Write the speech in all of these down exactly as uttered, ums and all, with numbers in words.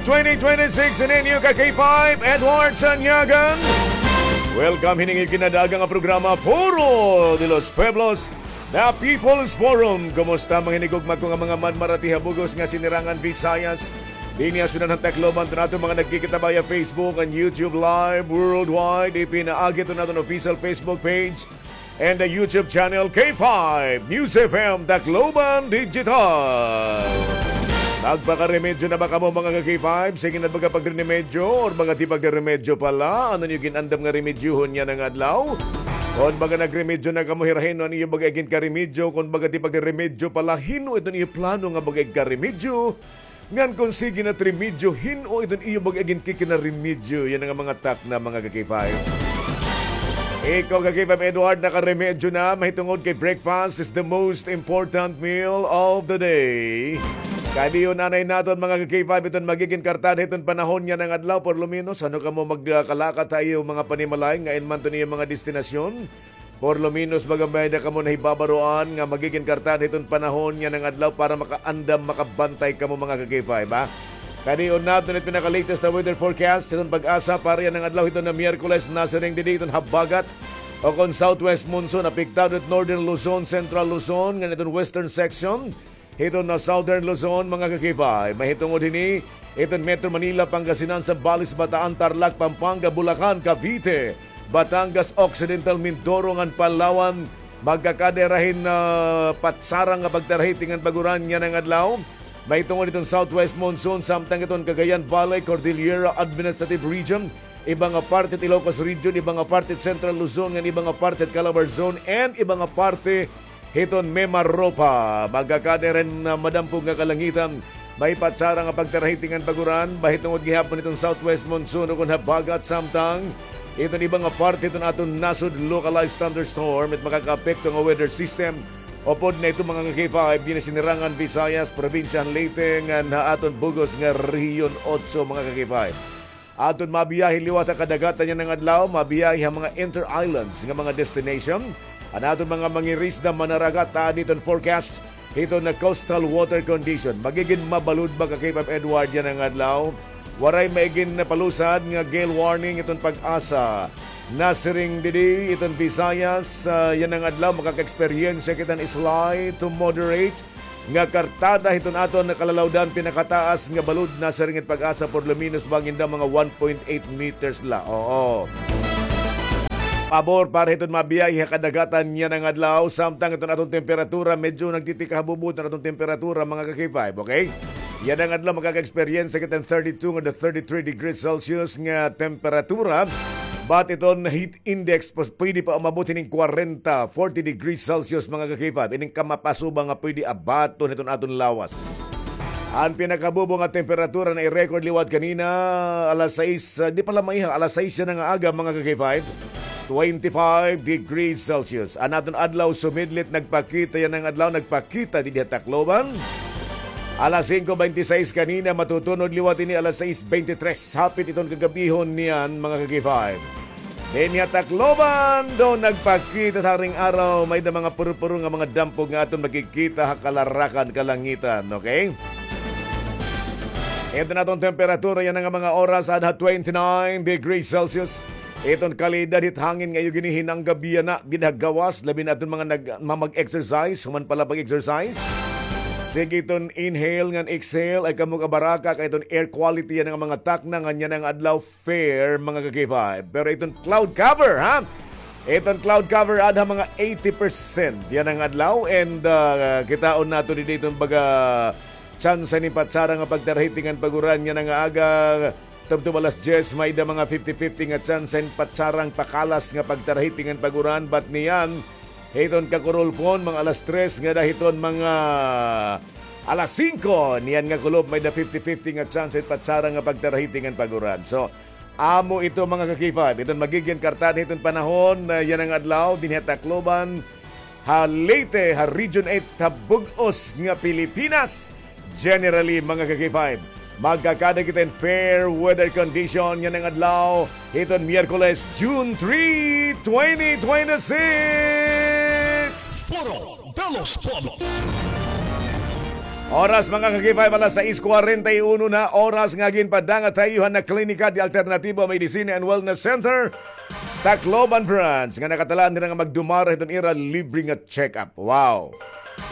twenty twenty-six, in inyo ka K five, Edward Sanyagan. Welcome hining ikinadaga nga programa, Foro de los Pueblos, The People's Forum. Kumusta, mga hinigugma ko nga mga manmarati ha bug-os nga sinirangan Visayas? Dinhi ha syudad han Tacloban, to nato mga nagkikita via Facebook and YouTube Live worldwide. Ipinaagi to naton official Facebook page and the YouTube channel K five News F M Tacloban Digital. Nagpakaremedyo na ba kamo, mga ka-K five? Sige na ba ka pagrenemedyo or baga ti pagrenemedyo pala? Ano niyo ginandam nga remedyohon yana nga adlaw? Kon baga nagremedyo na kamo, hirahin no an iyo baga iginkaremedyo. Kon baga ti pagremedyo pala, hin-o iton iyo plano nga baga igkaremedyo? Ngan kon sige na it remedyo, hin-o iton iyo baga iginkikinarimedyo? Yana nga mga takna, mga ka-K five. Ikaw, ka-K five Edward, nakaremedyo na, mahitungod kay breakfast is the most important meal of the day. Kadi-on anay naton, mga ka-K five, iton magigin kartada hiton panahon yana nga adlaw, por lo menos, ano kamo magkalakat ha iyo mga panimalay, ngain man iton iyo mga destinasyon. Por lo menos, baga may-ada kamo nahibabaroan nga magigin kartada hiton panahon yana nga adlaw para makaandam, makabantay kamo, mga ka-K five, ha? Kadi-on naton it pinaka-latest na weather forecast hiton PAGASA para yana nga adlaw, hiton nga Miyerkules, nasiring didi hiton habagat o kon southwest monsoon, apektado it northern Luzon, central Luzon, ngan iton western section hiton nga southern Luzon, mga ka-K five. Mahitungod hini, iton Metro Manila, Pangasinan, Zambales, Bataan, Tarlac, Pampanga, Bulacan, Cavite, Batangas, Occidental Mindoro ngan Palawan, magkakada hira hin, ah, patsarang nga pagtarahiti ngan pag-uran yana nga adlaw. Mahitungod hiton southwest monsoon, samtang hiton Cagayan Valley, Cordillera Administrative Region, iba nga parte it Ilocos Region, iba nga parte it Central Luzon, ngan iba nga parte it Calabarzon, and iba nga parte hiton Mimaropa. Magkakada hira hin, ah, madampog nga kalangitan. May patsarang nga pagtarahiti ngan pag-uran, mahitungod gihapon hiton southwest monsoon o kon habagat, samtang hiton iba nga parte hiton aton nasod, localized thunderstorm it makakaapekto nga weather system. Upod na ito, mga ka-K five, dinhi ha sinirangan Visayas, probinsya han Leyte, ngan ha aton bug-os nga Rehiyon Otso, mga ka-K five. Aton mabiyahe liwat ha kadagatan yana nga adlaw, mabiyahe ha mga inter-islands nga mga destination. An aton mga mangirisda, manaragat, aada hiton forecast hiton nga coastal water condition. Magigin mabalod ba, ka-K five Edward, yana nga adlaw? Waray maigin palusad nga gale warning hiton PAGASA. Nasiring didi hiton Visayas, ah, yana nga adlaw makaka-eksperyensya kita hin slight to moderate nga kartada hiton aton kalalawdan, pinakataas nga balod, nasiring it PAGASA, por lo menos bangin daw mga one point eight meters la. Oo. Pabor para hiton mabiyahe ha kadagatan yana nga adlaw, samtang iton aton temperatura, medyo nagtitikahabubo iton aton temperatura, mga ka-K five, okay? Yana nga adlaw makaka-experience kita hin thirty-two nga the thirty-three degrees Celsius nga temperatura. But iton heat index, pos-, pwede pa umabot hining kwarenta, forty degrees Celsius, mga ka-K five. Ining kamapasuba nga pwede abaton hiton aton lawas. An pinakabubo nga temperatura na i-record liwat kanina, alas sais, ah, di pala maiha, alas sais yana nga aga, mga ka-K five, twenty-five degrees Celsius. An aton adlaw sumidlit, nagpakita yana nga adlaw, nagpakita didi ha Tacloban. Alas singko bente sais kanina, matutunod liwat ini alas sais bente tres. Hapit iton kagabihon niyan, mga ka-K five. Dinhi ha Tacloban, daw nagpakita ha haring araw, may-ada mga puro-puro nga mga dampog nga aton makikita ha kalarakan, kalangitan, okay? Iton aton temperatura yana nga mga oras, aada ha twenty-nine degrees Celsius. Iton kalidad hit hangin nga iyo ginihinanggabiana dida ha gawas, labi na iton mga nag-, mamag-exercise, human pala pag-exercise. Sige iton inhale ngan exhale, ay kamo kabaraka, kay iton air quality yana nga mga takna ngan yana nga adlaw fair, mga ka-K five. Pero iton cloud cover, ha? Iton cloud cover, aada ha mga eighty percent yana nga adlaw. And, ah, kitaon naton didi iton baga tsansa ni patsarang nga pagtarahiti ngan pag-uran yana nga aga. Tubtob alas diyes, may-ada mga fifty fifty nga tsansa hin patsarang pakalas nga pagtarahiti ngan pag-uran. But niyan, hiton kakurulpon, mga alas tres ngada hiton mga alas singko, niyan nga kulob, may-ada fifty fifty nga tsansa hin patsarang nga pagtarahiti ngan pag-uran. So, amo ito, mga ka-K five. Iton magigin kartada hiton panahon, ah, yana nga adlaw, dinhi ha Tacloban, ha Leyte, ha Region eight, ha bug-os nga Pilipinas. Generally, mga ka-K five, magkakada kita hin fair weather condition yana nga adlaw hiton Miyerkules, June three, twenty twenty-six. Foro de los Pueblos. Oras, mga ka-K five, alas sais kwarenta y uno na, oras nga ginpadangat ha iyo han Klinika de Alternativo Medicina and Wellness Center, Tacloban Branch, nga nakatalaan dira nga magdumara hiton ira libre nga check-up. Wow!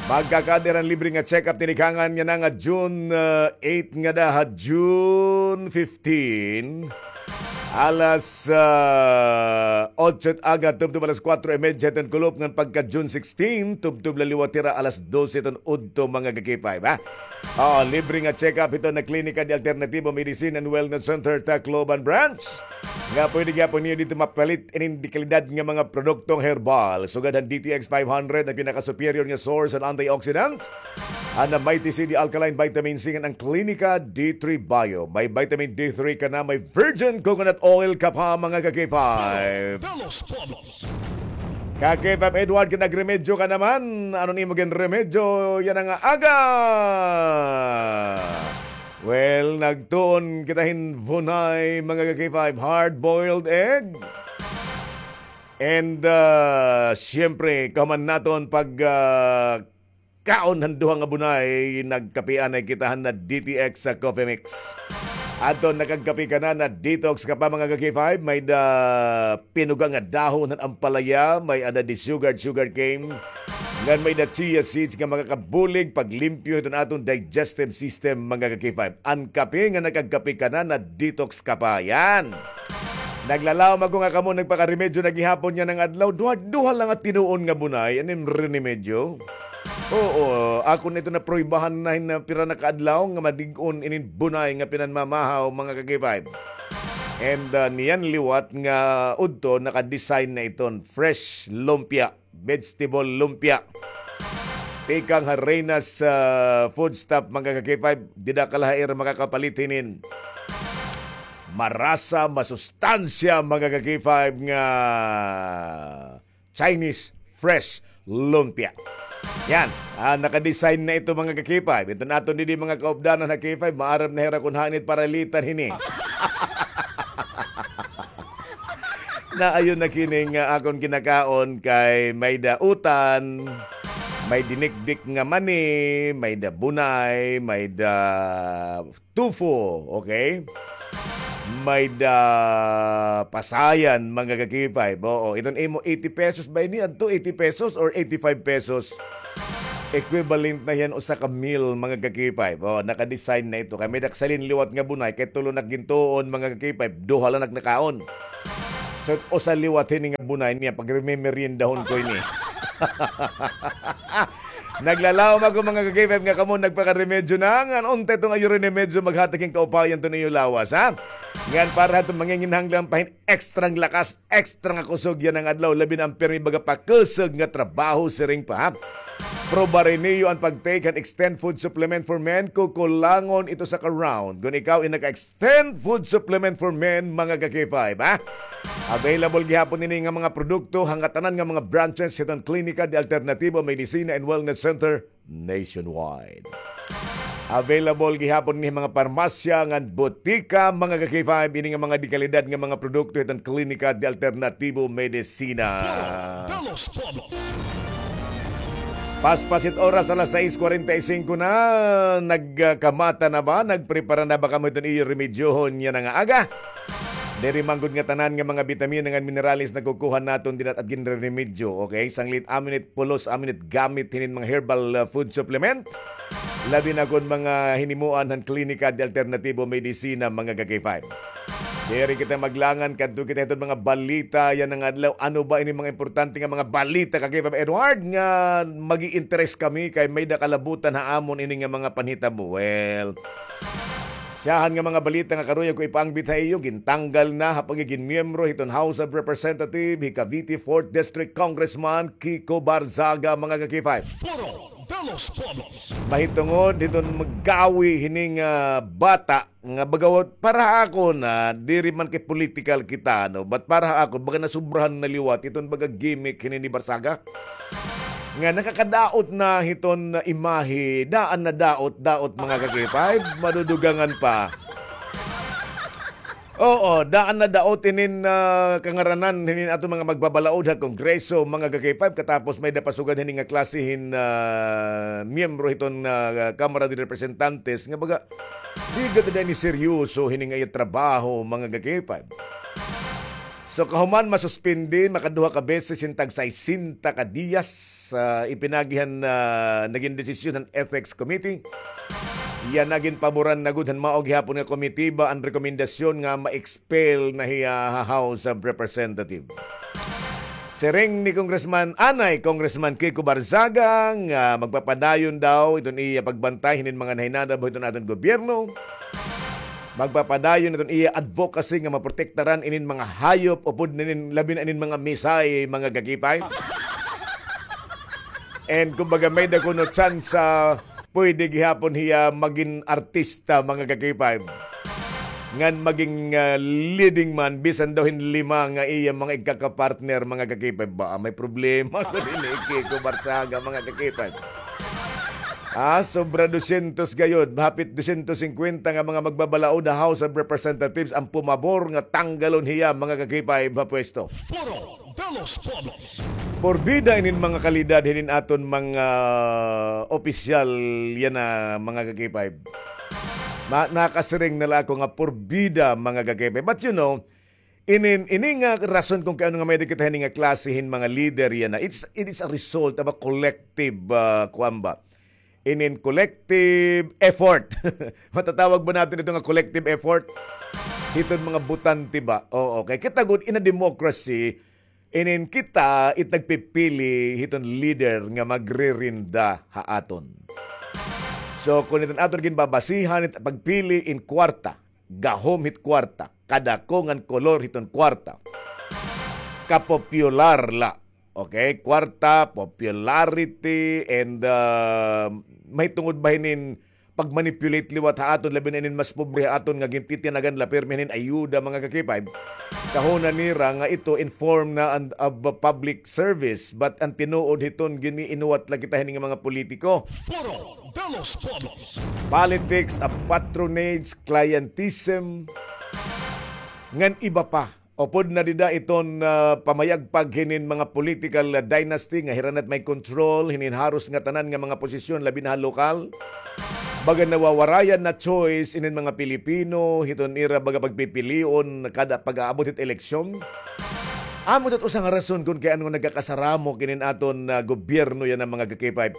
Magkakaada hira hin libre nga check-up, tinikangan niya na nga June, ah, eight ngada ha June fifteen. Alas, ah, otso it aga, tubtob alas kuwatro y medya hiton kulop, ngan pagka June sixteen, tubtob la liwat hira alas dose hiton udto, mga ka-K five, ha? Oo, libre nga check-up hiton Klinika de Alternativo Medicine and Wellness Center, Tacloban Branch. Nga pwede gihapon niyo didto mapalit inin dekalidad nga mga produktong herbal. Sugad han D T X five hundred, an pinaka-superior nga source han antioxidant. An Mighty C D Alkaline Vitamin C ngan an Klinika D three Bio. May vitamin D three ka na, may virgin coconut oil ka pa, mga ka-K five. Ka-K five Edward, kinagremedyo ka naman. Ano an imo ginremedyo yana nga aga? Well, nagtuon kita hin bunay, mga ka-K five, hard-boiled egg. And, ah, siyempre, kahuman naton pag, ah, kaon han duha nga bunay, nagkape anay kita han na D T X sa Coffee Mix. Adton nakagkape ka na, na-detox ka pa, mga ka-K five, may-ada pinuga nga dahon han ampalaya, may-ada desugared sugar cane, ngan may-ada chia seeds nga makakabulig paglimpyo hiton aton digestive system, mga ka-K five. An kape nga nakagkape ka na, na-detox ka pa. Yan. Naglalawom ako nga kamo nagpakaremedyo na gihapon yana nga adlaw. Duha, duha la nga tinuon nga bunay an im rinemedyo. Oo, akon ito napruibahan na hin pira na ka adlaw nga madig-on inin bunay nga pinanmamahaw, mga ka-K five. And, ah, niyan liwat nga udto, naka-design na iton fresh lumpia, vegetable lumpia. Tikang ha Reyna's, ah, Food Stop, mga ka-K five, dida ka la ha ira makakapalit hinin marasa, masustansya, mga ka-K five, nga Chinese fresh lumpia. Yan. Ah, naka-design na ito, mga ka-K five. Ito na aton didi, mga kaupdanan ha K five. Maaram na hira kun hain it paralitan hini. Naayon na kini nga akon kinakaon kay may-ada utan, may dinikdik nga mani, may-ada bunay, may-ada tofu, okay? May-ada pasayan, mga ka-K five. Oo, iton imo eighty pesos ba ini? Adto eighty pesos or eighty-five pesos? Equivalent na hiyan usa ka meal, mga ka-K five. Oh, naka-design na ito. Kay may-ada kasalin liwat nga bunay, kay tulo na gintuon, mga ka-K five. Duha la nakaon. So, usa liwat hini nga bunay niya, pagmemeriendahon ko ini. Naglalawom ako, mga ka-K five, nga kamo nagpakaremedyo na, ngan unta iton iyo rinemedyo maghatag hin kaupayan iton iyo lawas, ha? Ngan para ha iton manginginahanglan pa hin extrang lakas, extra nga kusog yana nga adlaw, labi na an pirmi baga pakusog nga trabaho siring pa, ha? Probari niyo an pag-take han Extend Food Supplement for Men, kukulangon ito sa ka-round. Kon ikaw in naka-Extend Food Supplement for Men, mga ka-K five, ha? Available gihapon ini nga mga produkto ha ngatanan nga mga branches hiton Klinika de Alternativo Medicina and Wellness Center nationwide. Available gihapon ini ha mga parmasya ngan botika, mga ka-K five, ini nga mga dekalidad nga mga produkto hiton Klinika de Alternativo Medicina. Paspas it oras, alas sais kwarenta y singko na. Nagkamata na ba? Nagprepara na ba kamo hiton iyo remedyohon yana nga aga? Diri man gud nga tanan nga mga bitamina ngan minerales nakukuha naton dida at ginreremedyo, okay? Sanglit amon it pulos, amon it gamit hinin mga herbal, uh, food supplement. Labi na kon mga hinimuan han Klinika de Alternativo Medicina, mga ka-K five. Diri kita maglangan, kadto kita hiton mga balita yana nga adlaw. Ano ba ini mga importante nga mga balita, ka-K five Edward, nga mag-i-interes kami kay may-ada kalabutan ha amon ini nga mga panhitabo? Well, syahan nga mga balita nga karuya ko ipaangbit ha iyo, gintanggal na ha pagigin miyembro hiton House of Representative hi Cavite fourth District Congressman Kiko Barzaga, mga ka-K five. Foro de los Pueblos. Mahitungod hiton magawi hining, ah, bata nga baga para ha akon, ah, diri man kay political kita, no? But para ha akon, baga nasubrahan na liwat iton baga gimmick hini ni Barzaga. Nga nakakadaot na hiton imahe, daan na daot, daot, mga ka-K five, madudugangan pa. Oo, daan na daot inin, ah, kangaranan hinin aton mga magbabalaod ha Kongreso, mga ka-K five, katapos may-ada pasugad hini nga klase hin, ah, miyembro hiton, ah, Kamara de Representantes nga baga, di gad na ini seryoso hini nga iya trabaho, mga ka-K five. So, kahuman masuspindi, makaduha ka beses hin tag-sesenta ka diyas, ah, ipinaagi han, ah, nagin desisyon han Ethics Committee. Iya nagin paboran na gud han mao gihapon nga komitiba an rekomendasyon nga ma-expel na hiya ha House of Representatives. Siring ni Congressman, anay, Congressman Kiko Barzaga nga magpapadayon daw iton iya pagbantay hinin mga nahinadab hiton aton gobyerno. Magpapadayon iton iya advocacy nga maprotektaran inin mga hayop upod na inin, labi na inin mga misay, mga ka-K five. And kumbaga, may-ada kuno tsansa, pwede gihapon hiya magin artista, mga ka-K five. Ngan magin, ah, leading man, bisan daw hin lima nga iya mga igkakapartner, mga ka-K five. Ba, may problema ko din ni Kiko Barzaga, mga ka-K five. Ah, sobra dosyentos gayod, hapit dosyentos singkwenta nga mga magbabalaod ha House of Representatives an pumabor nga tanggalon hiya, mga ka-K five, ha pwesto. Foro de los Pueblos. Porbida inin mga kalidad hinin aton mga opisyal yana, mga ka-K five. Ma-, nakasiring na la ako nga porbida, mga ka-K five. But you know, inin, ini nga rason kon kay ano nga may-ada kita hini nga klase hin mga leader yana, it's, it is a result of a collective, ah, kuan ba? Inin collective effort. Matatawag ba naton ito nga collective effort? Hiton mga botante ba? Oo, kay kita gud in a democracy, inin kita it nagpipili hiton leader nga magririnda ha aton. So, kon iton aton ginbabasihan it pagpili in kwarta, gahom hit kwarta, kadako ngan kolor hiton kwarta. Kapopular la. Okay, kwarta, popularity, and, ah, mahitungod ba hinin pag-manipulate liwat ha aton, labi na inin mas pobre ha aton nga gintitinagan la pirmi hinin ayuda, mga ka-K five. Kahuna nira nga ito in form na and of public service, but an tinuod hiton giniinuwat la kita hini nga mga politiko. Foro de los Pueblos. Politics of patronage, clientism, ngan iba pa. Upod na dida iton, ah, pamayagpag hinin mga political, ah, dynasty nga hira na it may control hinin haros nga tanan nga mga posisyon, labi na ha lokal. Baga nawawarayan na choice inin mga Pilipino hiton ira baga pagpipilion kada pag-aabot hit eleksyon. Amo ito usa nga rason kon kay ano nagkakasaramok inin aton, ah, gobyerno yana, mga ka-K five.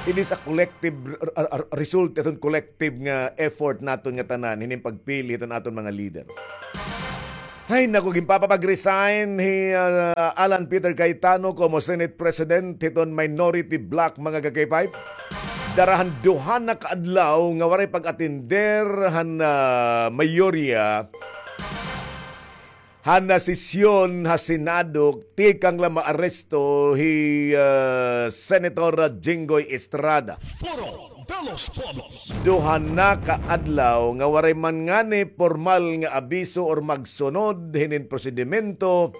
It is a collective r-, r-, r-, result iton collective nga effort naton nga tanan hinin pagpili hiton aton mga leader. Hay, naku, ginpapapag-resign hi, ah, Alan Peter Cayetano komo Senate President hiton minority bloc, mga ka-K five. Dara han duha na ka adlaw nga waray pag-atender han, ah, mayorya han, ah, sesyon ha Senado, tikang la maaresto hi, ah, Senator Jinggoy Estrada. Foro de los Pueblos. Duha na ka adlaw nga waray man ngani pormal nga abiso or magsunod hinin prosedimento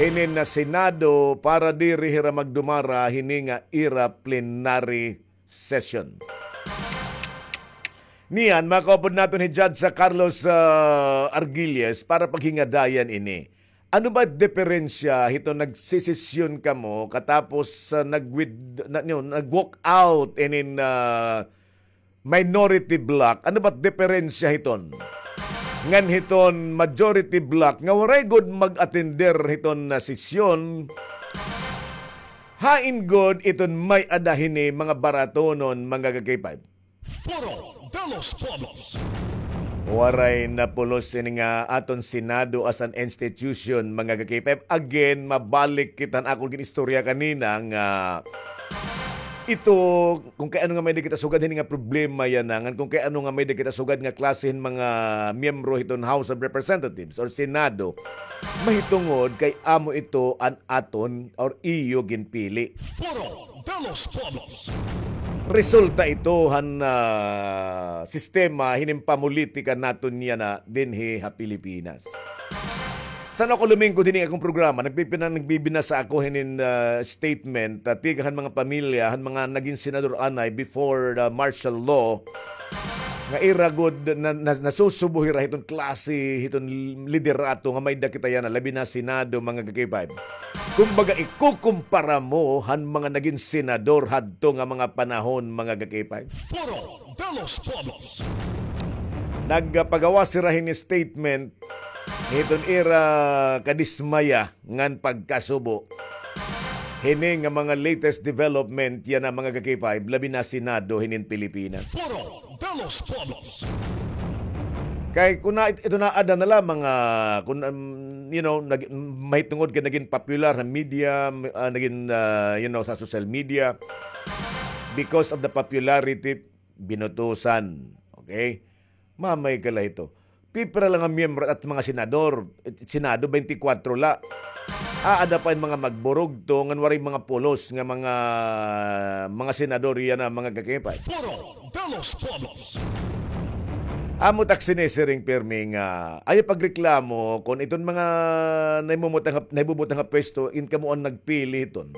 hinin nga Senado para diri hira magdumara hini nga ira plenary session. Niyan, makaupod naton hi Judge sa Carlos, ah, Argilles para paghingadayan ini. Ano ba diferensya hiton nagsesesyon kamo katapos, ah, nag-with-, na, you know, nag-walk out inin, ah, minority bloc? Ano ba diferensya hiton? Ngan hiton majority bloc nga waray gud mag-atender hiton na sesyon. Hain gud iton may-ada hini, mga baratonon, mga ka-K five? Foro de los Pueblos. Waray napulos ini nga aton Senado as an institution, mga ka-K five. Again, mabalik kita han akon ginistorya kanina nga ito, kon kay ano nga may-ada kita sugad hini nga problema yana, ngan kon kay ano nga may-ada kita sugad nga klase hin mga miyembro hiton House of Representatives or Senado, mahitungod kay amo ito an aton or iyo ginpili. Foro de los Pueblos. Resulta ito han, ah, sistema hinin pamulitika naton yana dinhi ha Pilipinas. San-o ako lumingkod hini akon programa, nagpipina-, nagbibinasa ako hinin, ah, statement, ah, tikang han mga pamilya han mga nagin senador anay before the martial law. nga ira gud na, na, nasusubo hira hiton klase hiton liderato nga may-ada kita yana, labi na Senado, mga ka-K five. Kumbaga, ikukumpara mo han mga nagin senador hadto nga mga panahon, mga ka-K five. Foro de los Pueblos. Nagpagawas hira hini statement hiton ira kadismaya ngan pagkasubo hini nga mga latest development yana, mga ka-K five, labi na Senado hinin Pilipinas. Foro de los Pueblos. Kay kun na, ito na ada na lamang, ah, kun, um, you know, nag-, mahitungod kay nagin popular ha media, ah, nagin, ah, you know, sa social media, because of the popularity, binutusan. Okay? Mamay ka la ito. Pipira la nga miyembro at mga senador, Senado, twenty-four la. Aada pa in mga magburugto ngan waray mga pulos nga mga, mga senador yana, mga ka-K five. Foro de los Pueblos. Amo tak sinisiring pirmi nga ayaw pagreklamo kon iton mga nahimumutang, nahibubutang ha pwesto, in kamo an nagpili hiton.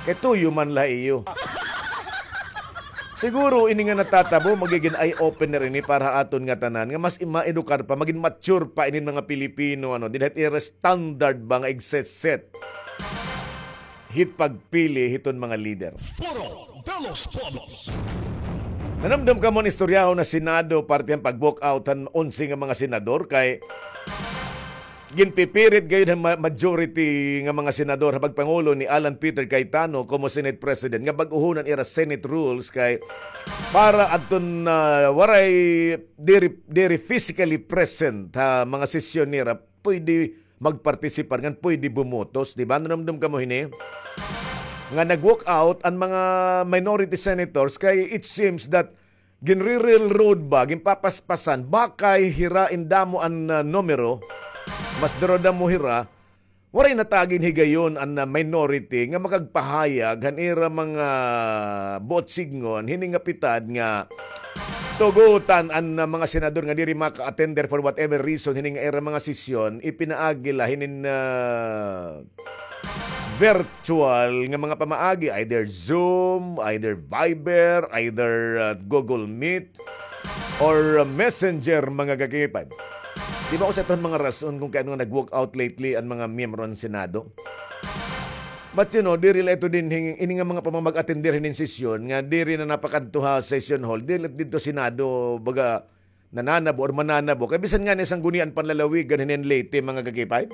Kay tuyo man la iyo. Siguro ini nga natatabo, magigin eye-opener ini para ha aton ngatanan, nga mas i-, maedukar pa, magin mature pa inin mga Pilipino, ano, dinhi ha ira standard ba nga igse-set hit pagpili hiton mga lider. Foro de los Pueblos. Nanumdom kamo an istoryahon na Senado, parte han pag-walk out han onse nga mga senador, kay ginpipirit gayud han ma-, majority nga mga senador ha pagpangulo ni Alan Peter Cayetano komo Senate President nga bag-ohon an ira Senate rules kay para adton, ah, waray diri, diri physically present ha mga sesyon nira, pwede magpartisipar ngan pwede bumotos, di ba? Nanumdom kamo hini? Nga nag-walk out an mga minority senators kay it seems that ginre-railroad ba, ginpapaspasan, bakay hira in damo an, ah, numero, mas daradamo hira, waray na ta ginhigayon an, ah, minority nga makagpahayag han ira mga buot sidngon, hini nga pitad nga tugotan an, ah, mga senador nga diri maka-attender for whatever reason, hini nga ira mga sesyon, ipinaagi la hinin, ah, virtual nga mga pamaagi, either Zoom, either Viber, either, ah, Google Meet, or, ah, Messenger, mga ka-K five. Di ba, usa ito han mga rason kon kay ano nga nag-walk out lately an mga miyembro han Senado? But, you know, diri la ito dinhi, ini nga mga pamamag-attender hinin sesyon, nga diri na napakadto ha session hall, diri la didto Senado, baga, nananabo or mananabo. Kay bisan ngani Sangguniang Panlalawigan hinin Leyte, mga ka-K five.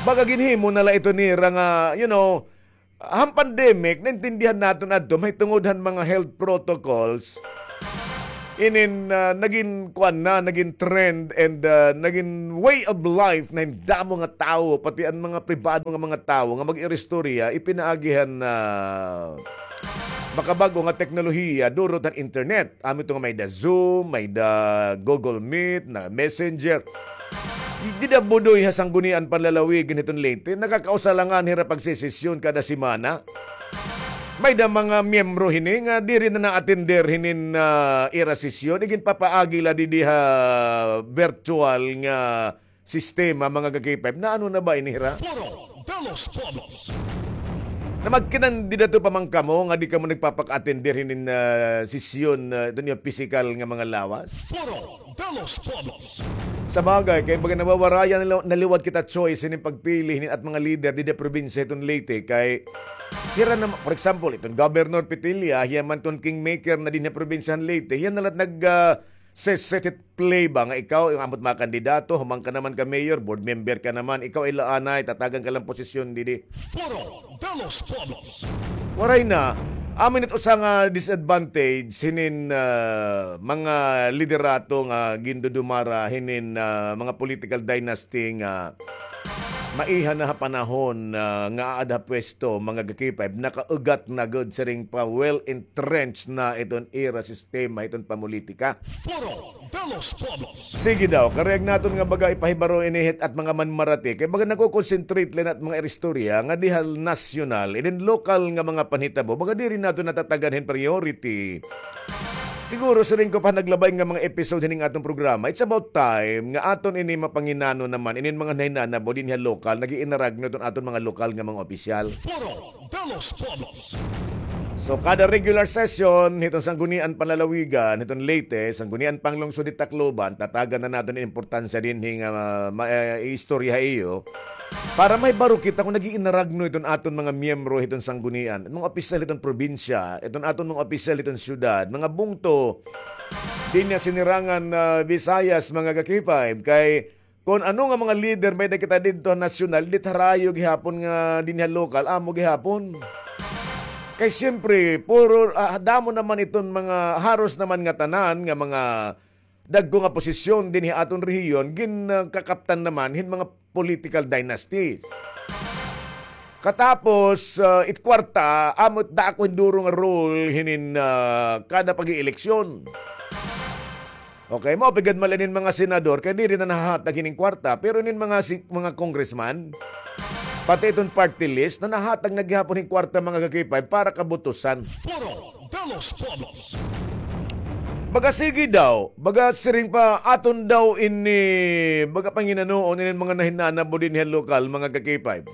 Baga ginhimo na la ito nira nga, you know, han pandemic, naintindihan naton adto, mahitungod han mga health protocols, inin, ah, nagin kuan na, nagin trend, and, ah, nagin way of life na hin damo nga tawo, pati an mga pribado nga mga tawo nga mag-iristorya, ipinaagi han, ah, makabag-o nga teknolohiya, durot han internet. Amo ito nga may-ada Zoom, may-ada Google Meet, na Messenger. Dida Budoy ha Sangguniang Panlalawigan hiton Leyte, nakakausa la ngani hira pagsesesyon kada semana. May-ada mga miyembro hini nga diri na na-attender hinin, ah, ira sesyon. Iginpapaagi la didi ha virtual nga sistema, mga ka-K five. Naano na ba ini hira? Foro de los Pueblos. Na magkinandidato pa man kamo nga di kamo nagpapak-attender hinin, ah, sesyon, ah, ito niyo pisikal nga mga lawas? Foro de los Pueblos. Sabagay, kay baga nawawarayan na, na liwat kita choice hinin pagpili hinin at mga lider didi ha probinsya hiton Leyte, kay hira na, for example, iton Governor Petilla, hiya man iton kingmaker na dinhi ha probinsya han Leyte, hiya na la it nag, ah, se-, set it play ba nga ikaw, amo it mga kandidato, human ka naman ka mayor, board member ka naman, ikaw ay la anay, tatagan ka la hin posisyon didi. Foro de los Pueblos. Waray na. Amo ini it usa nga disadvantage hinin, ah, mga liderato nga gindudumara hinin, ah, mga political dynasty nga maiha na ha panahon, ah, nga aada ha pwesto, mga ka-K five, nakaugat na gud siring pa, well entrenched na iton ira sistema hiton pamulitika. Foro de los Pueblos. Sige daw, karuyag naton nga baga ipahibaro ini hit at mga manmarati, kay baga nagko-concentrate la it mga iristorya ngadi ha nasyonal, inin lokal nga mga panhitabo, baga diri naton natatagan hin priority. Siguro siring ko pa naglabay nga mga episode hining aton programa, it's about time nga aton ini mapanginano naman inin mga nahinanabo dinhi ha lokal, nag-iinaragno iton aton mga lokal nga mga opisyal. Foro de los Pueblos. So, kada regular session hiton Sanggunian Panlalawigan hiton Leyte, Sanggunian Panglungsod hit Tacloban, tatagan na naton in importansya dinhi nga, ah, ma-, eh, iistorya ha iyo. Para mahibaro kita kon nag-iinaragno iton aton mga miyembro hiton sanggunian, mga opisyal hiton probinsya, iton aton mga opisyal hiton syudad, mga bungto, dinhi ha Sinirangan, ah, Visayas, mga ka-K five, kay kon ano nga mga lider may-ada kita didto ha nasyonal, di it harayo gihapon nga dinhi ha lokal, amo gihapon. Kay siyempre, puro, ah, damo naman iton mga, haros naman nga tanan nga mga dagko nga posisyon dinhi ha aton rehiyon, gin, ah, kakaptan naman hin mga political dynasties. Katapos, ah, it kwarta, amo it dako hin duro nga role hinin, ah, kada pag-ieleksyon. Okay, mao pa gad man la inin mga senador, kay diri na nahahatag hinin kwarta, pero inin mga si-, mga congressman, pati iton party list, na nahatag na gihapon hin kwarta, mga ka-K five, para kabutusan. Foro de los Pueblos. Baga sige daw, baga siring pa, aton daw ini, baga panginanoon inin mga nahinanabo dinhi ha lokal, mga ka-K five.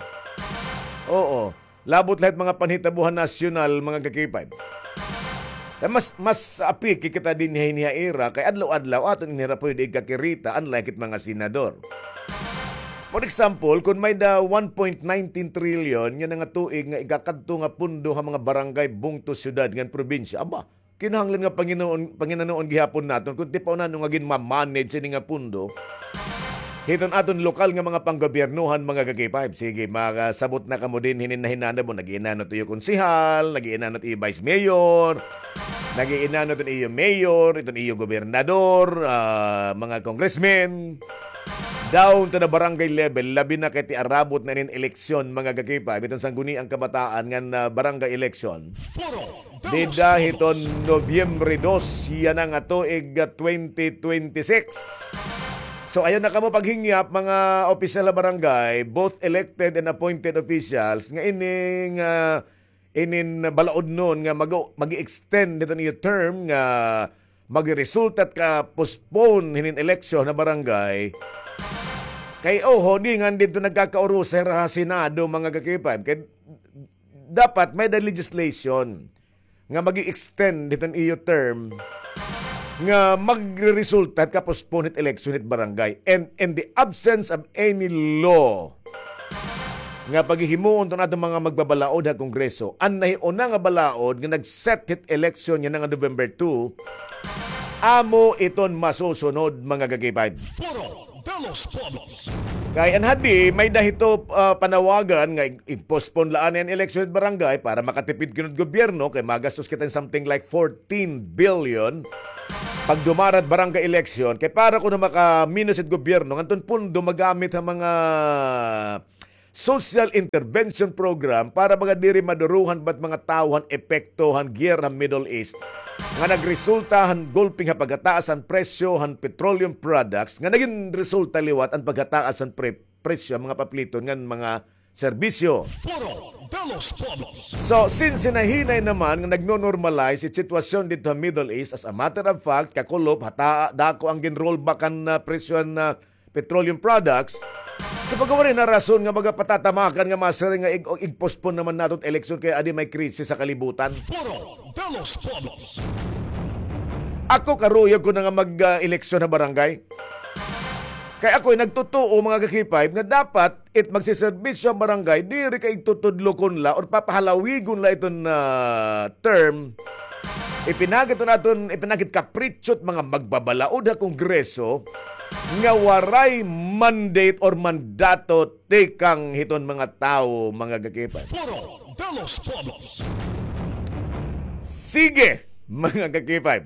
Oo. Labot la hit mga panhitabo ha nasyonal, mga ka-K five. Kay mas, mas apiki kita dinhi ha ira, kay adlaw-adlaw aton ini hira pwede igkakirita, unlike it mga senador. For example, kon may-ada one point nineteen trillion yana nga tuig nga igkakadto nga pondo ha mga barangay, bungto, syudad ngan probinsya, aba, kinahanglan nga panginoon, panginanoon gihapon naton kon tipawon ano nga ginma-manage ini nga pondo hiton aton lokal nga mga panggobiernohan, mga ka-K five. Sige, makasabot na kamo dinhi hinin nahinanabo, nag-iinano it iyo konsehal, nag-iinano it iyo vice mayor, nag-iinano iton iyo mayor, iton iyo gobernador, ah, mga congressmen. Down to the barangay level, labi na kay ti arabot na inin eleksyon, mga ka-K five, iton sangguniang kabataan ngan, ah, barangay election. Dida hiton Nobyembre dos yana nga tuig, ah, twenty twenty-six. So, ayaw na kamo paghingyap, mga opisyal ha barangay, both elected and appointed officials, nga ining, ah, inin balaodnon nga mag-, mag-i-extend hiton iyo term nga magresulta it ka-postpone hinin eleksyon ha barangay. Kay, oho, di ngan didto nagkakaurusa hira ha Senado, mga ka-K five. Kay dapat may-ada legislation nga mag-i-extend hiton iyo term nga magreresulta hit ka-postpone hit election hit barangay. And in the absence of any law nga paghihimuon iton aton mga magbabalaod ha Kongreso, an nahiuna nga balaod nga nag-set hit election yana nga November two, amo iton masusunod, mga ka-K five. Foro de los Pueblos. Kay an hadi, may-ada hito, ah, panawagan nga i-, i-postpone la anay an eleksyon hit barangay para makatipid kuno it gobyerno, kay magastos kita hin something like fourteen billion pagdumara it barangay eleksyon, kay para kuno makaminos it gobyerno, ngadton pondo magamit ha mga social intervention program para baga diri madurohan ba it mga tawo han epekto han giyera ha Middle East nga nagresulta han gulping ha paghataas han presyo han petroleum products nga nagin resulta liwat an paghataas han pre-, presyo han mga papliton ngan mga serbisyo. Foro de los Pueblos. So, since hinahinay naman nga nagno-normalize it sitwasyon didto ha Middle East, as a matter of fact, kakulop, hata-, dako an gin-rollback han, ah, presyo han, ah, petroleum products. So, baga waray na rason nga baga patatamakan nga masiring nga ig-, ig-postpone naman naton it eleksyon kay adi may krisis ha kalibutan. Foro de los Pueblos. Ako karuyag ko na nga mag, ah, eleksyon ha barangay. Kay ako'y nagtutuo, mga ka-K five, nga dapat it magsiserbisyo an barangay, diri kay igtutudlokon la or papahalawigon la iton, ah, term. Ipinagit iton aton, ipinagit kapritsyo it mga magbabalaod ha Kongreso nga waray mandate or mandato tikang hiton mga tawo, mga ka-K five. Foro de los Pueblos. Sige, mga ka-K five.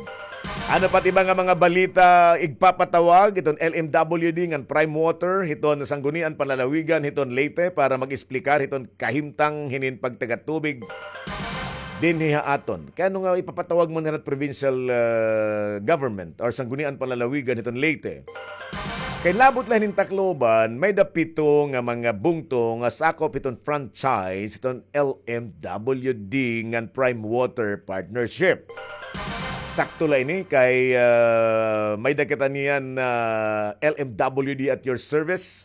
Ano pa it iba nga mga balita igpapatawag hiton L M W D ngan Prime Water hiton Sanggunian Panlalawigan hiton Leyte para mag-explicar hiton kahimtang hinin pagtagatubig dinhi ha aton. Kay ano nga ipapatawag man hira it provincial, ah, government or Sanggunian Panlalawigan hiton Leyte? Kay labot la hinin Tacloban, may-ada pito nga mga bungto nga sakop hiton franchise hiton L M W D ngan Prime Water Partnership. Sakto la ini kay, ah, may-ada kita niyan, ah, L M W D at your service.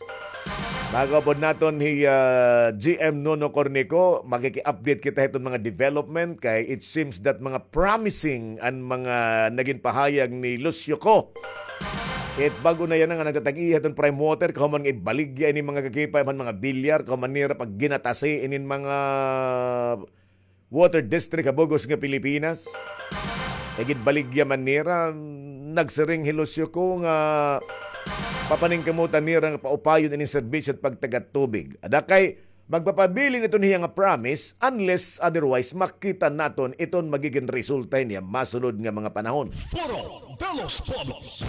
Tago pod naton hi, ah, G M Nono Cornico, makiki-update kita hiton mga development kay it seems that mga promising an mga nagin pahayag ni Lucio Co. It bag-o na yana nga nagtatag-iya hiton prime water, kahuman nga ibaligya ini mga kakipay, man mga bilyar, kahuman nira pag ginatasi inin mga water district ha bug-os nga Pilipinas. Igid baligya man nira, nagsiring hi Lucio Co nga papaningkamutan nira nga paupayon ining serbisyo at pagtagad tubig. Ada kay magpapabilin iton hiya nga promise unless otherwise makita naton iton magigin resulta niya masulod nga mga panahon. Foro de los Pueblos.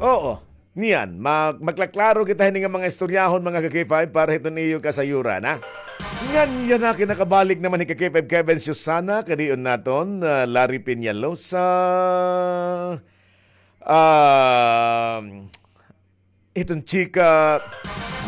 Oo. Niyan, mag-, magklaklaro kita hini nga mga istoryahon, mga ka-K five, para hiton iyo kasayuran, ha? Ngan yana, kinakabalik naman hi ka-K five Kevin Susana, kadiyon naton, ah, Larry Peñalosa, ah, hiton chika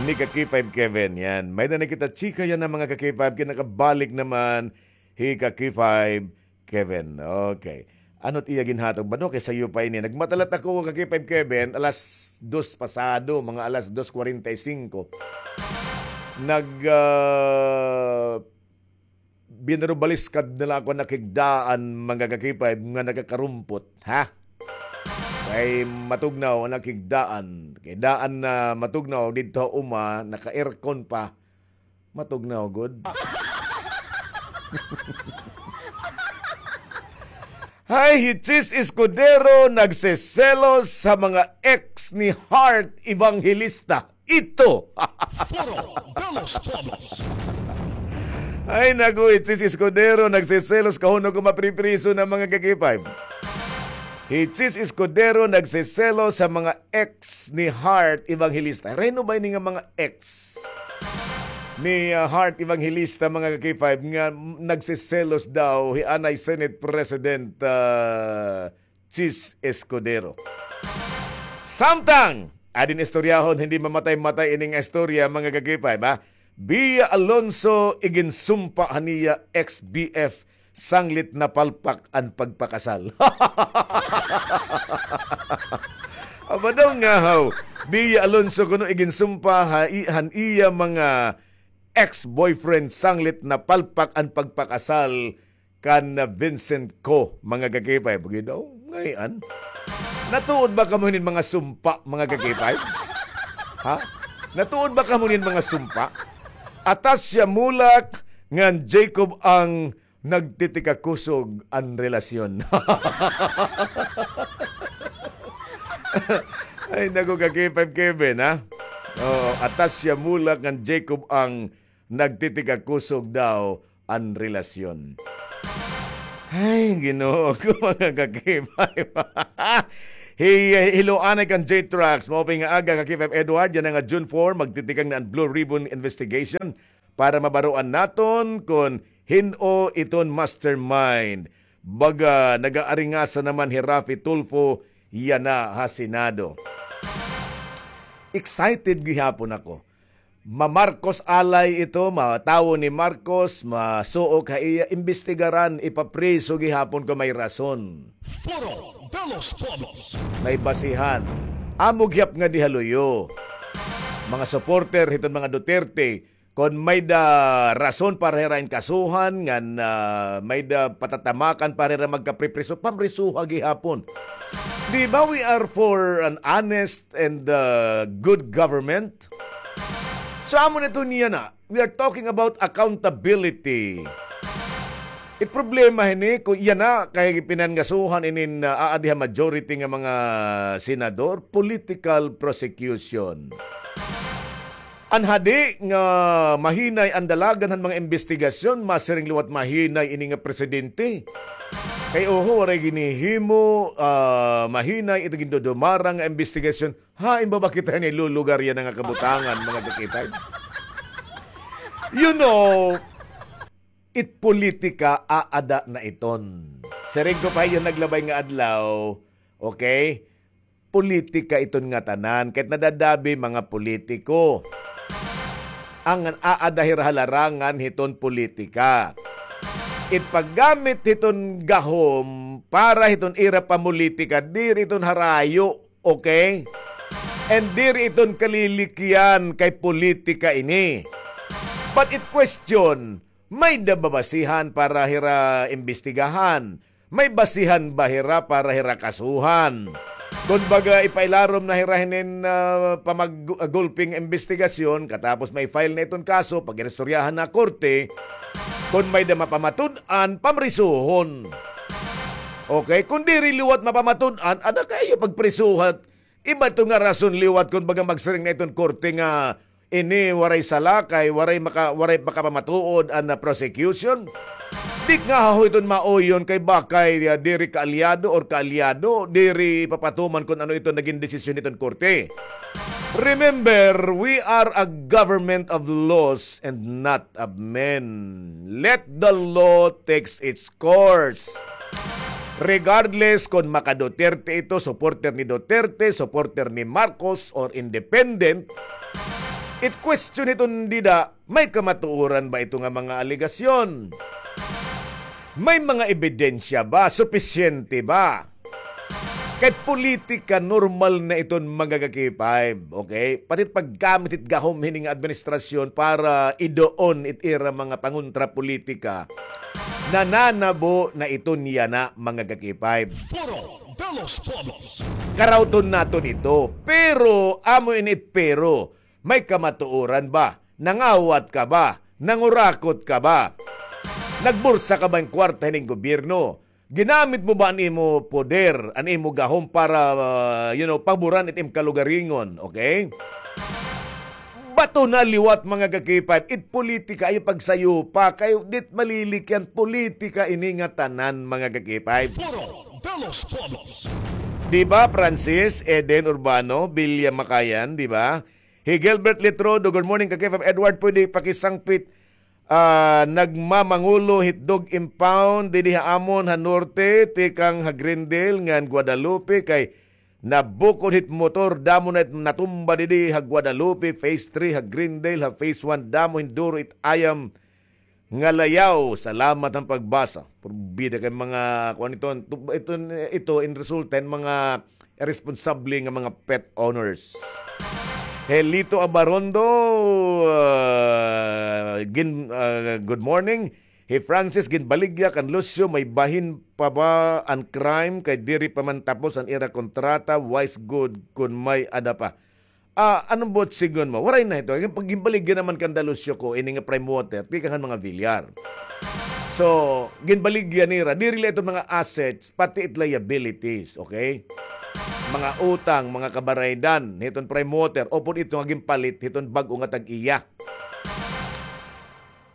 ni ka-K five Kevin, yan. May na nakita chika yana, mga ka-K five, kinakabalik naman hi ka-K five Kevin. Okay. Ano't iya ginhatag ba, no? Kay sayo pa ini. Nagmatalat ako, ka-K five Kevin, alas dos pasado, mga alas dos kwarenta y singko. Nag, ah, binarubaliskad na la ako an ak higdaan, mga ka-K five, nga nakakarumpot, ha? Kay matugnaw an ak higdaan. Kay daan na matugnaw, didto ha uma, naka-aircon pa. Matugnaw gud. Hay, hi Chiz Escudero nagseselos sa mga ex ni Heart Evangelista. Ito. Foro de los Pueblos. Ay, naku, hi Chiz Escudero nagseselos. Kahunong ko mapripriso na, mga ka-K five. Hi Chiz Escudero nagseselos sa mga ex ni Heart Evangelista. Reno ba ini nga mga ex ni, ah, Heart Evangelista, mga ka-K five, nga m-, nagseselos daw hi anay Senate President, ah, Chiz Escudero? Samtang, adin istoryahon, hindi mamatay-matay ini nga istorya, mga ka-K five, ha? Bia Alonso iginsumpa ha niya ex-B F sanglit napalpak an pagpakasal. Aba daw nga haw, Bia Alonso kuno iginsumpa ha i-, han iya mga ex-boyfriend sanglit napalpak an pagpakasal kan Vincent Co, mga ka-K five. Bagi daw, ngay-an. Natuod ba kamo hinin mga sumpa, mga ka-K five? Ha? Natuod ba kamo hinin mga sumpa? Atasya Mulak ngan Jacob ang nagtitikakusog an relasyon. Ay, naku, ka-K five Kevin, ha? Oo, Atasya Mulak ngan Jacob ang nagtitikakusog daw an relasyon. Ay, Ginoo ko, mga ka-K five. Hi-, hiloanay kan J-Trax, maupay nga aga, ka-K five Edward, yana nga June four, magtitikang na an Blue Ribbon Investigation para mabaroan naton kon hin-o iton mastermind. Baga, nag-aaringasa naman hi Raffy Tulfo yana ha Senado. Excited gihapon ako. Ma-Marcos alay ito, matawo ni Marcos, masuok ha iya, imbestigaran, ipapriso gihapon kon may rason. Foro de los Pueblos. May basihan. Amo gihap nga di ha luyo. Mga supporter hiton mga Duterte, kon may da rason para hira in kasuhan, ngan, ah, may da patatamakan para hira magkapripriso, pamrisuha gihapon. Di ba we are for an honest and, uh, good government? So, amo na ito niya na. We are talking about accountability. It problema hini, kon yana, kay pinangasuhan inin, uh, aadi ha majority nga mga senador, political prosecution. An hadi nga mahinay an dalagan han mga imbestigasyon, masiring liwat mahinay ini nga presidente. Kay oho, waray ginhihimo, ah, mahinay ito gindudumarang nga imbestigasyon. Hain ba ba kita nilulugar yana nga kabutangan, mga ka-K five? You know, it politika aada na iton. Siring ko pa hiya naglabay nga adlaw, okay? Politika iton ngatanan, kay nadadabi mga politiko. An aada hira ha larangan hiton politika. It paggamit hiton gahom para hiton ira pamolitika, diri iton harayo, okay? And diri iton kalilikyan kay politika ini. But it question, may-ada ba basihan para hira imbestigahan? May basihan ba hira para hira kasuhan? Kon baga ipailarom na hira hinin, ah, pamag-, ah, gulping imbestigasyon, katapos ma-file na iton kaso, pag-iristoryahan na korte, kon may-ada mapamatud-an, pamrisuhon. Okay? Kon diri liwat mapamatud-an, ada kay iyo pagprisuhat. Iba ito nga rason liwat kon baga magsiring na iton korte nga ini waray sala kay waray maka-, waray makapamatuod an, ah, prosecution. Di ngahaw iton mauyon kay bakay, ah, diri kaalyado or kaalyado, diri papatuman kon ano iton nagin desisyon hiton korte. Remember, we are a government of laws and not of men. Let the law takes its course. Regardless kon maka-Duterte ito, supporter ni Duterte, supporter ni Marcos, or independent, it question hiton dida, may kamatuoran ba ito nga mga alegasyon? May mga ebidensya ba? Supisyente ba? Kay politika, normal na iton mga ka-K five, okay? Pati it paggamit it gahom hini nga administrasyon para iduon it ira mga pangontra politika. Nananabo na iton yana, mga ka-K five. Foro de los Pueblos. Karawton naton ito. Pero, amo ini it pero, may kamatuoran ba? Nangawat ka ba? Nangurakot ka ba? Nagbursa ka ba hin kwarta hining gobyerno? Ginamit mo ba an imo poder, an imo gahom para, ah, you know, paboran it im kalugaringon, okay? Bato na liwat, mga ka-K five, it politika, ayaw pagsayupa, kay dit malilikyan politika ini nga tanan, mga ka-K five. Foro de los Pueblos. Di ba, Francis, Eden Urbano, Bilya Makayan, di ba? Hi Gilbert Litrodo, good morning, ka-K five Edward, pwede pakisangpit, ah, nagmamangulo hit dog impound didi ha amon ha norte, tikang ha Greendale ngan Guadalupe, kay nabukod hit motor, damo na it natumba didi ha Guadalupe, phase three ha Greendale, ha phase one, damo hin duro it ayam nga layaw. Salamat han pagbasa. Porbida kay mga, kuan ito, ito, ito in resulta hin mga iresponsable nga mga pet owners. Helito Abarondo, ah, gin-, ah, good morning. Hi Francis, ginbaligya kan Lucio, may bahin pa ba an crime kay diri pa man tapos an ira kontrata, wise good kun may-ada pa. Ah, ano buot sidngon mo? Waray na ito. Pag ginbaligya naman kanda Lucio ko, ini nga Prime Water, tikang han mga Villar. So, ginbaligya nira, diri la ito mga assets, pati it liabilities, okay? Mga utang, mga kabaraydan, hiton Prime Water, upod ito nga ginpalit, hiton bag-o nga tag-iya.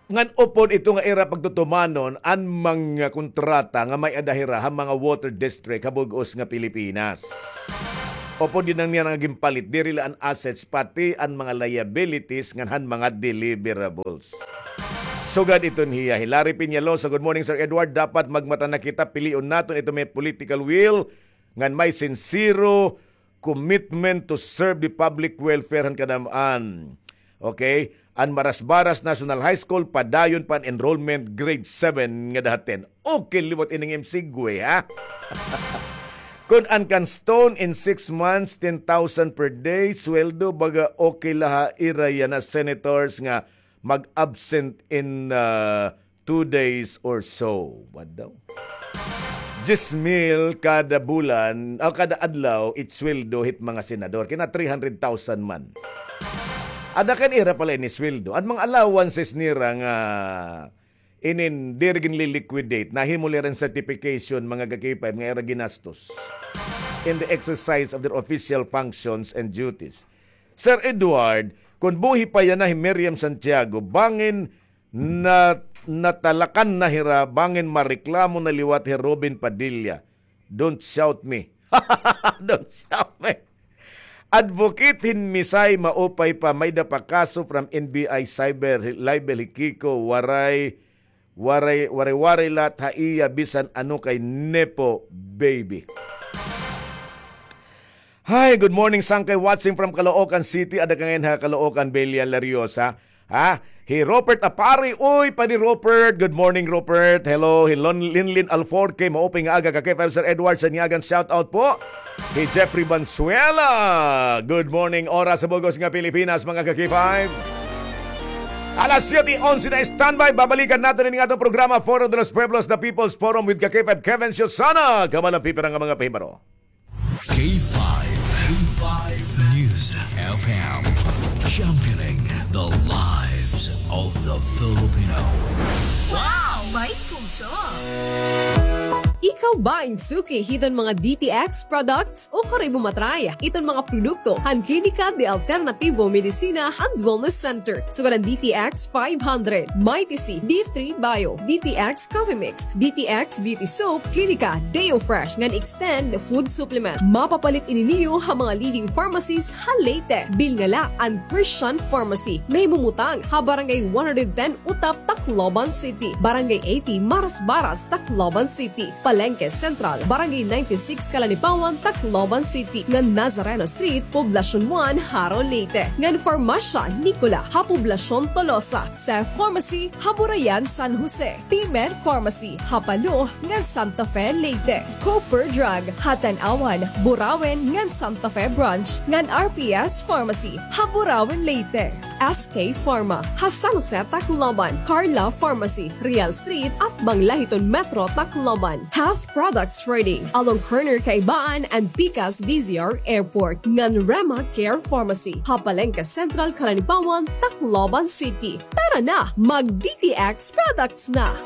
Ngan upod ito nga ira pagtutumanon an mga kontrata nga may-ada hira ha mga water district ha bug-os nga Pilipinas. Upod dinhi nga ginpalit, diri la an assets, pati an mga liabilities ngan han mga deliverables. Sugad iton hiya, Hilary Peñalosa, good morning, Sir Edward. Dapat magmata na kita, pilion naton ito may political will ngan may sinsero commitment to serve the public welfare han kadam-an. Okay? An Marasbaras National High School, padayon pa an enrollment grade seven ngada ha ten. Okay liwat ini nga im segue, ha? Kun an kan Stone in six months, ten thousand per day, sweldo, baga okay la ha ira yana senators nga mag-absent in, ah, two days or so. What daw? Diyes mil kada bulan, o kada adlaw, it sweldo hit mga senador. Kina three hundred thousand man. Ada kan ira pala ini sweldo. An mga allowances nira nga inin diri ginli-liquidate, nahimo la ira hin certification, mga ka-K five, nga ira ginastos in the exercise of their official functions and duties. Sir Edward, kon buhi pa yana hi Miriam Santiago, bangin na, natalakan na hira, bangin mareklamo na liwat hi Robin Padilla. Don't shout me. Don't shout me. Advocate hin Misay, maupay pa, may-ada pa kaso from N B I cyber libel hi Kiko, waray, waray, waray-waray lat ha iya bisan ano kay nepo baby. Hi, good morning, Sangkay, watching from Caloocan City. Ada ka ngay-an ha Caloocan, Belian Lariosa. Ha? Hi Robert Apari. Uy, Padi Robert. Good morning, Robert. Hello. Hi Lon-, Linlin Alforque. Maupay nga aga ka K five, Sir Edward. Sa Niagan, shout out po. Hi Jeffrey Banzuela. Good morning, oras sa bug-os nga Pilipinas, mga ka K five. Alas siyete onse na, standby. Babalikan naton ini nga atong programa, Foro de los Pueblos, The People's Forum with ka K five Kevin Siosana. Kabalang pipira nga mga pahibaro. K five, K five News F M, championing the lives of the Filipino. Wow! May puso! Ikaw ba in suki hiton mga D T X products? Ukari mo matry iton mga produkto han Klinika de Alternativo Medicina and Wellness Center. Sugad an D T X five hundred, Mighty C, D three Bio, D T X Coffee Mix, D T X Beauty Soap, Klinika, Deo Fresh, ngan Extend Food Supplement. Mapapalit ini niyo ha mga leading pharmacies ha Leyte. Bilngala an Christian Pharmacy. Nahimumutang ha Barangay one hundred ten Utap, Tacloban City, Barangay eighty Marasbaras, Tacloban City, Palengke Central, Barangay ninety-six Calanipawan, Tacloban City, ngan Nazareno Street, Poblacion one, Jaro, Leyte, ngan Farmacia Nicola ha Poblacion Tolosa, Sef Pharmacy ha Burayan, San Jose, P-Med Pharmacy ha Palo ngan Santa Fe, Leyte, Cooper Drug ha Tanauan, Burauen ngan Santa Fe Branch, ngan R P S Pharmacy ha Burauen, Leyte. S K Pharma ha San Jose, Tacloban, Carla Pharmacy, Real Street, atbang la hiton Metro Tacloban, Half Products Trading, along corner Kaibaan and Pikas D Z R Airport, ngan Rema Care Pharmacy ha Palengke Central, Calanipawan, Tacloban City. Tara na, mag D T X products na!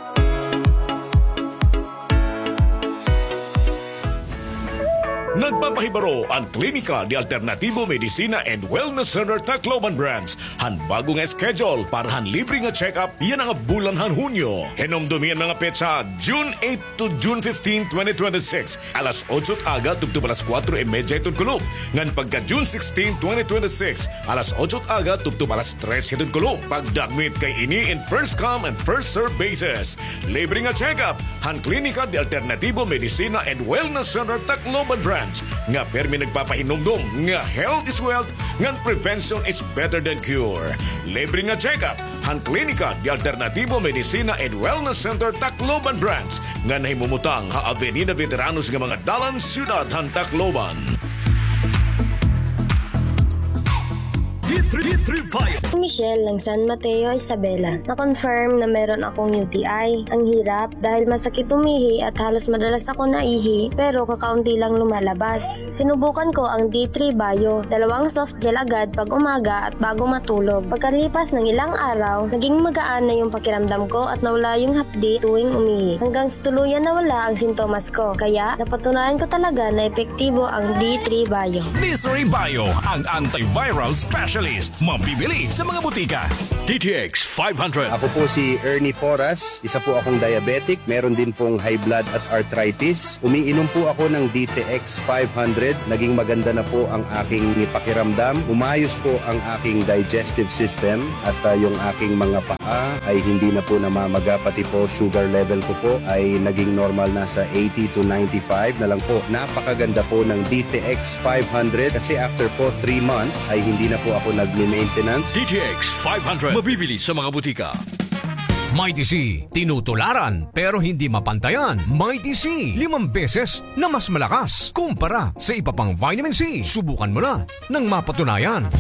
Nagpapahibaro an Klinika de Alternativo Medicina and Wellness Center Tacloban Branch han bago nga schedule para han libre nga check-up yana nga bulan han Hunyo. Hinumdomi an mga petsa, June eight to June fifteen, twenty twenty-six, alas otso it aga tubtob alas kuwatro y medya hiton kulop, ngan pagka June sixteen, twenty twenty-six, alas otso it aga tubtob alas tres hiton kulop. Pagdagmit kay ini in first come and first serve basis. Libre nga check-up han Klinika de Alternativo Medicina and Wellness Center Tacloban Branch, nga pirmi nagpapahinumdom nga health is wealth ngan prevention is better than cure. Libre nga check-up han Klinika de Alternativo Medicina and Wellness Center Tacloban Branch, nga nahimumutang ha Avenida Veteranos nga mga dalan, siyudad han Tacloban. Michelle ng San Mateo, Isabela. Na-confirm na meron akong U T I. Ang hirap dahil masakit umihi at halos madalas ako naihi, pero kakaunti lang lumalabas. Sinubukan ko ang D three Bio, dalawang soft gel agad pag umaga at bago matulog. Pagkalipas ng ilang araw, naging magaan na yung pakiramdam ko at nawala yung hapdi tuwing umihi. Hanggang sa tuluyan nawala ang sintomas ko. Kaya, napatunayan ko talaga na epektibo ang D three Bio. D three Bio, ang antiviral specialist. Mabibili sa mga butika. D T X five hundred. Ako po si Ernie Porras, isa po akong diabetic, meron din pong high blood at arthritis. Umiinom po ako ng D T X five hundred, naging maganda na po ang aking pakiramdam. Umayos po ang aking digestive system at, ah, yung aking mga paa ay hindi na po namamaga, pati po sugar level ko po ay naging normal na sa eighty to ninety-five na lang po. Napakaganda po ng D T X five hundred kasi after po three months ay hindi na po ako nagme-maintenance. D T X five hundred, mabibili sa mga butika. Mighty C, tinutularan pero hindi mapantayan. Mighty C, limang beses na mas malakas kumpara sa iba pang vitamin C. Subukan mo na nang mapatunayan.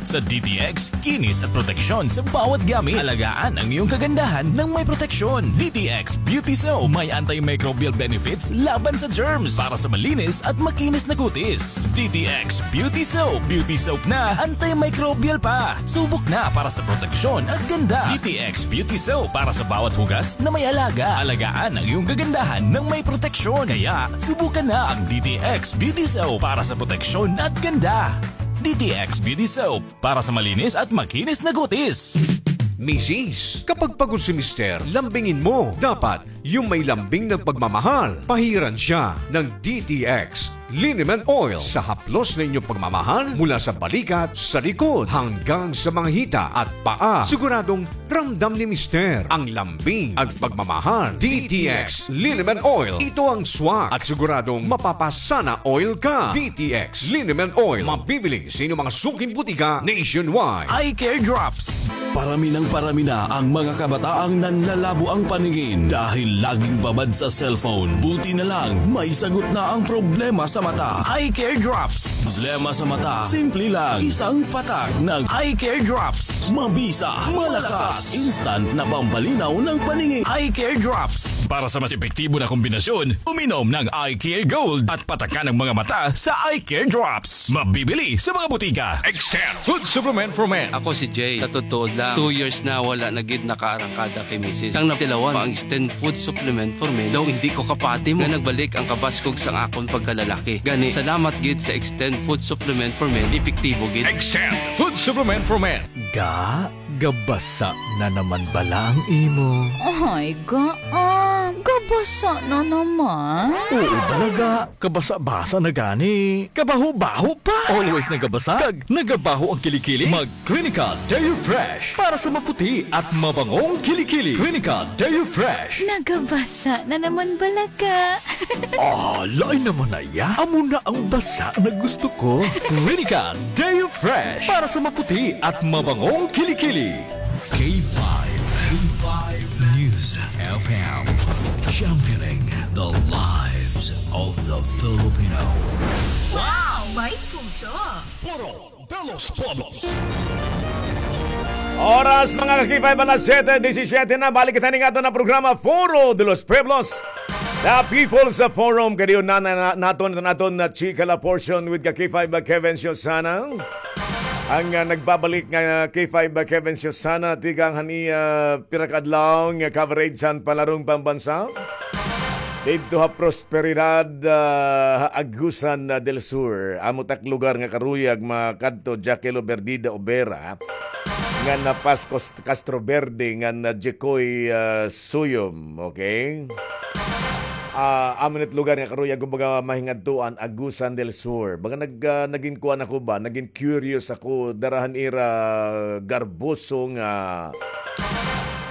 Sa D T X, kinis at proteksyon sa bawat gamit. Alagaan ang iyong kagandahan ng may proteksyon. D T X Beauty Soap, may antimicrobial benefits laban sa germs para sa malinis at makinis na kutis. D T X Beauty Soap. Beauty soap na, antimicrobial pa. Subok na para sa proteksyon at ganda. D T X Beauty Soap para sa bawat hugas na may alaga. Alagaan ang iyong kagandahan ng may proteksyon. Kaya, subukan na ang D T X Beauty Soap para sa proteksyon at ganda. D T X Beauty Soap para sa malinis at makinis na kutis. Misis, kapag pagod si Mister, lambingin mo. Dapat, yung may lambing ng pagmamahal. Pahiran siya ng D T X Liniment Oil. Sa haplos na inyong pagmamahal, mula sa balikat, sa likod, hanggang sa mga hita at paa, siguradong ramdam ni Mister ang lambing at pagmamahal. D T X Liniment Oil. Ito ang swak at siguradong mapapasana oil ka. D T X Liniment Oil. Mabibili sa inyong mga suking butika nationwide. Eye Care Drops. Parami nang parami na ang mga kabataang nanlalabo ang paningin dahil laging babad sa cellphone. Buti na lang, may sagot na ang problema sa mata. Eye Care Drops. Problema sa mata, simple lang. Isang patak ng Eye Care Drops. Mabisa, malakas, instant na pampalinaw ng paningin. Eye Care Drops. Para sa mas epektibo na kombinasyon, uminom ng Eye Care Gold at patakan ang mga mata sa Eye Care Drops. Mabibili sa mga butika. Extend Food Supplement for Men. Ako si Jay. Sa totoo lang, two years na wala na gid nakaarangkada kay misis. Sang natilawan pa ang Extend Food Supplement for Men, daw hindi ko kapati mo nga nagbalik ang kabaskog sang akon pagkalalaki. Gani, salamat gid sa Extend Food Supplement for Men, epektibo gid. Extend Food Supplement for Men. Ga, gabasa na naman bala ang imo? Ay, ga, ah, gabasa na naman. Oo, bala ga. Kabasa-basa na gani. Kabaho-baho pa. Always nagabasa. Kag nagabaho ang kilikili. Mag Clinical Deo Fresh para sa maputi at mabangong kilikili. Clinical Deo Fresh. Nagabasa na naman bala ga. Ah, lain naman na iya. Amo na ang basa na gusto ko. Clinical Deo Fresh para sa maputi at mabangong kilikili. K five, K five News F M, championing the lives of the Filipino. Wow, may puso! Foro de los Pueblos. Oras, mga ka-K five, alas siyete disisiyete na. Balik kita ning aton na programa, Foro de los Pueblos, The People's Forum. Kadiyon na, na, na, naton, naton na chika la portion with ka-K five, Kevin Siosana. Ang, ah, nagbabalik nga, ah, K five, Kevin Siosana, tikang han iya pira ka adlaw nga coverage han palarong pambansa. Didto ha Prosperidad, ah, ha Agusan, ah, del Sur. Amo tak lugar nga karuyag makadto, Jaquelo Berdida Obera, ngan na Pascos Castro Verde, ngan na Jekoy, ah, Suyom, okay? Ah, amo it lugar nga karuyag, kumbaga, mahingadtuan, Agusan del Sur. Baga nag-, ah, nagin kuan ako ba, nagin curious ako, dara han ira garboso nga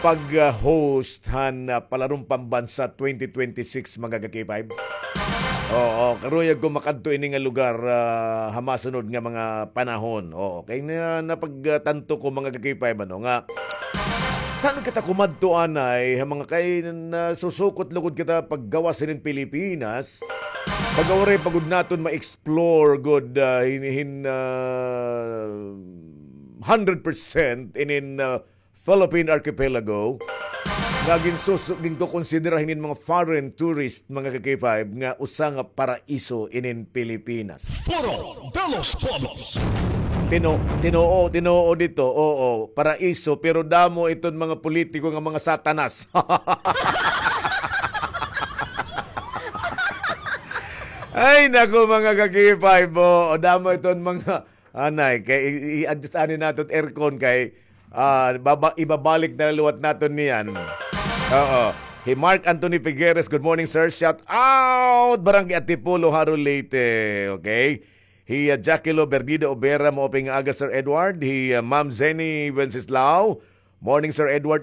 pag-host han, ah, Palarong Pambansa twenty twenty-six, mga ka-K five. Oo, karuyag ko makadto ini nga lugar, ah, ha masunod nga mga panahon. Oo, kay na, napagtanto ko, mga ka-K five, ano, nga, san kita kumadto anay, ha mga kay nasusukot lugod kita paggawas hinin Pilipinas, pag-auray pa gud naton ma-explore gud, ah, hin, hin, ah, hundred percent inin, ah, Philippine Archipelago, nga ginsusu-, ginkukonsidera hinin mga foreign tourist, mga ka-K five, nga usa nga paraiso inin Pilipinas. Foro de los Pueblos. Tino-, tinoo, tinoo dito, oo, paraiso, pero damo iton mga politiko nga mga satanas. Ay, naku, mga ka-K five, oo, damo iton mga Anay, kay i-, i-adjust ani naton aircon kay, ah, baba-, ibabalik na liwat naton niyan. Oo. Hi Mark Anthony Figueres, good morning, sir. Shout out, Barangay Antipolo, Jaro, Leyte. Okay. Hi, ah, Jackilo Berdida Obera, maupay nga aga, Sir Edward. Hi, ah, Ma'am Zenny Wenceslao. Morning, Sir Edward.